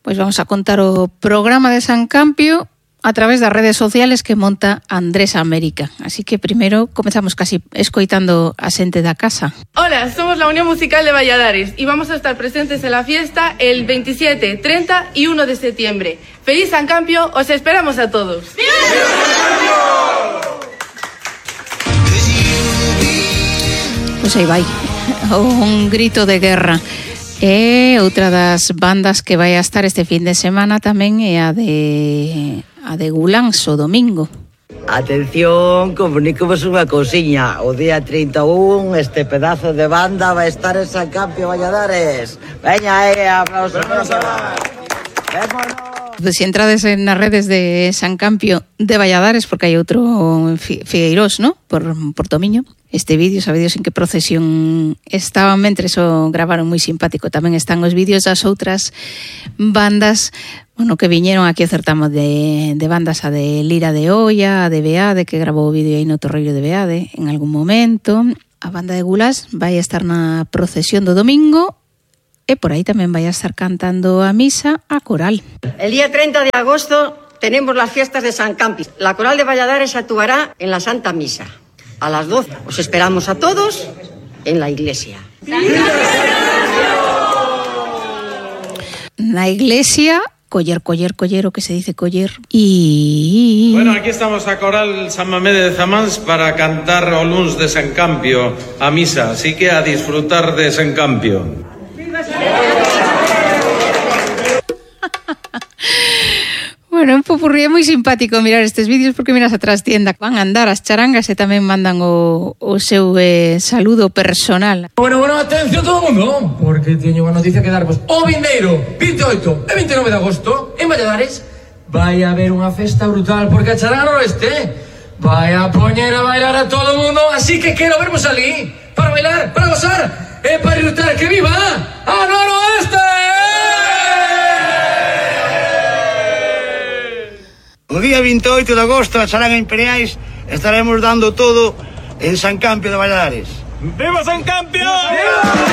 Pois vamos a contar o programa de San Campio a través das redes sociales que monta Andrés América. Así que primeiro comezamos casi escoitando a xente da casa. Hola, somos la Unión Musical de Valladares y vamos a estar presentes en la fiesta el 27, 30 y 1 de septiembre. ¡Feliz San Campio! ¡Os esperamos a todos! ¡Viva San Campio! Pois aí vai, un grito de guerra. E outra das bandas que vai a estar este fin de semana tamén é a de Gulans o domingo. Atención, comunícovos unha cousiña. O día 31 este pedazo de banda vai estar en San Campio, Valladares. Veña, aplausos. Vémonos. Se entrades nas redes de San Campio de Valladares, porque hai outro Figueirós, ¿no? Por Tomiño. Este vídeo, sabedes en que procesión estaban, mentres o gravaron moi simpático. Tamén están os vídeos das outras bandas, bueno, que viñeron aquí a certamo de bandas, a de Lira de Olla, a de Beade, que grabou o vídeo aí no Torreiro de Beade en algún momento. A banda de Gulás vai a estar na procesión do domingo e por aí tamén vai a estar cantando a misa a coral. El día 30 de agosto tenemos las fiestas de San Campi. La coral de Valladares actuará en la Santa Misa. A las 12. Os esperamos a todos en la iglesia. Na iglesia, coller, o que se dice coller. Y... Bueno, aquí estamos a Coral San Mamede de Zamáns para cantar o luns de San Campio a misa. Así que a disfrutar de San Campio. Bueno, un popurrí é moi simpático mirar estes vídeos porque miras a trastienda, van a andar as charangas e tamén mandan o seu saludo personal. Bueno, atención todo o mundo, porque teño unha noticia que darvos. O vindeiro 28 e 29 de agosto en Valladares vai haber unha festa brutal porque a charanga noroeste vai a poñer a bailar a todo o mundo, así que quero vermos ali para bailar, para gozar e para disfrutar. Que viva a noroeste! O día 28 de agosto, na Charanga Imperiais, estaremos dando todo en San Campio de Valladares. ¡Viva San Campio! ¡Viva!